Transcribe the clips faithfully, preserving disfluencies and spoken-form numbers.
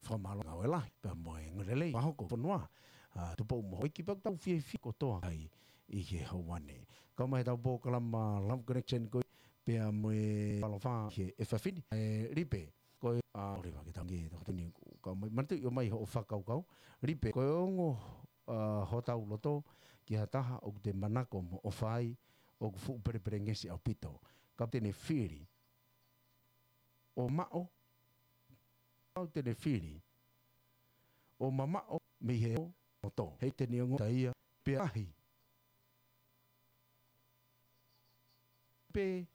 fakamālō ngāue lahi pea mo e ngāue lelei fakahoko fonua. ʻA, Tupou mo Houʻeiki pea ʻoku tau fiefia kotoa ai ʻi he houa ni. Kau mai ʻetau polokalama Love Connection ko ē pea mo e ʻaloʻofa he efiafi ni. ʻE Lipe, ko e, ʻa, ʻoua leva ke tau ngē, tau tini, kau mai, manatuʻi ʻomai hoʻo fakakaukau. Lipe, ko e ongo, ʻa, hotau loto ki ha taha ʻoku te manako mo ʻofa ai, ʻoku fuʻu pelepelengesi ʻaupito. Kapau te ne fili ʻo maʻu, kapau te ne fili ʻo mamaʻo mei he loto, he te ne ongoʻi ʻe ia pē ʻa e ʻahi. Pē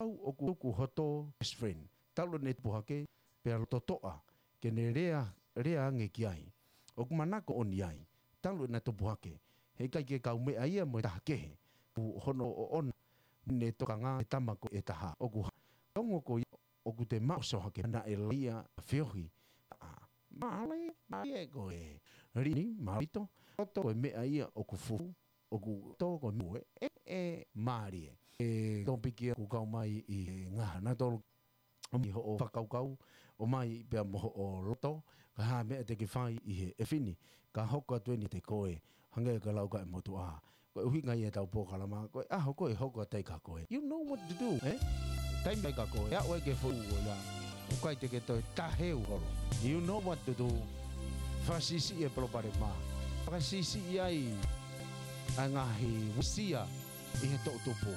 au ʻoku, ʻoku hoto best friend. Talu ʻene tupu hake, pea loto toʻa, ke ne lea, lea ange ki ai. ʻOku manako ʻoni ai, talu ʻena tupu hake, heʻikai ke kaumeʻa ia mo e taha kehe, pu hono ʻoʻona, ne tokanga e tama ko ē ʻe taha. ʻOku ha-, ongo ko ia, ʻoku te maʻu ʻosi hake naʻe laia feohi. ʻA, mālie, mālie ko e lini, mālito, loto ko e meʻa ia ʻoku fuʻu, ʻoku tō ko e mue, ʻe, ʻe, mālie. ʻE topiki ʻoku kau mai ʻi he ngaahi naʻa tolu ʻomai hoʻo fakakaukau, ʻomai pea mo hoʻo loto, ka ha meʻa te ke fai ʻi he efiafi ni, ka hoko atu eni te koe, hangē ko e lau ʻa e motuʻa. Ko e ʻuhinga ia ʻetau polokalama, ko e ʻaho ko ē hoko atu ai kia koe. You know what to do, eh? Taimi ʻe ʻai kia koe, ʻe aʻu ai ki he foʻi ʻaho ia. ʻOku ʻikai te ke toe taheu holo. You know what to do. Fakasiʻisiʻi e palopalema. Fakasiʻisiʻi ai ʻa e ngaahi uesia ʻi he toʻutupu.